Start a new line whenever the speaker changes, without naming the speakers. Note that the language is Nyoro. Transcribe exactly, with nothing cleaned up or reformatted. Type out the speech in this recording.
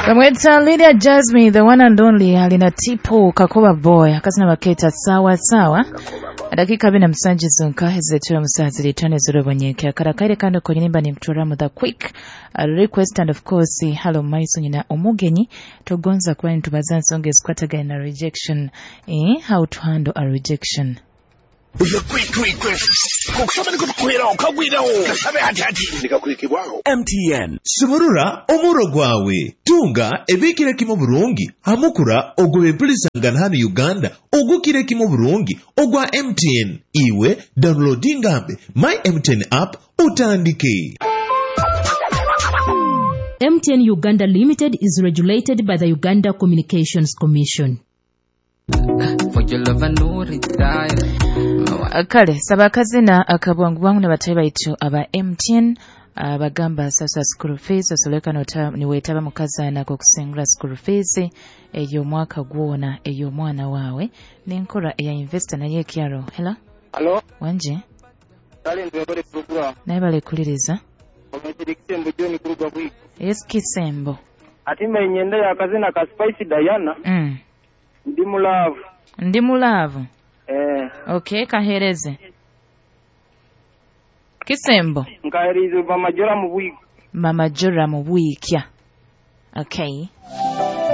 Bamweta Lydia Jasmine, the one and only, alina Tipo Kakoba Boy, akazina baketa sawa sawa. Dakika abiri na musanju zonka ezetera musazi litone zirobonyeke akarakaire kandi konyimba ni mturamu the quick uh, request and of course hello maiso nyina omugenyi tugonza kuba nitubaza nsonga ezikwatagana na rejection, eh, how to handle a rejection.
The quick request. Kukusaba nikutukwiraho kagwiraho kasabe hati hati nikakwikibwaho
M T N sumurura omuro gwawe tunga ebikire kimu burungi hamukura ogw'empulisangana hano Uganda ogukire kimu burungi ogwa M T N iwe downloadingambe my M T N app utandike.
M T N Uganda Limited is regulated by the Uganda Communications Commission.
For your love I no retire.
Kale saba akazina akabwangu bwangu na batayi baitu aba M T N abagamba sasa school fees osoleka nota niwetaba mukazana ko kusengura school fees eyo mwaka gwona eyo mwana wawe nenkora eya investor naye kyaro. Hello
hello
wanje
kale ndibale program
naye bale kuliriza
omwetiri Kisembo John kuruga bwiko.
Yes Kisembo
atimba inyenda ya kazina ka Spice Diana
mm.
Ndi mu love.
Ndi mu love.
Eh.
Okay, kahereze. Kisembo.
Nkahereze Mama Jora mu bwiko.
Mama Jora mu bwikya. Okay.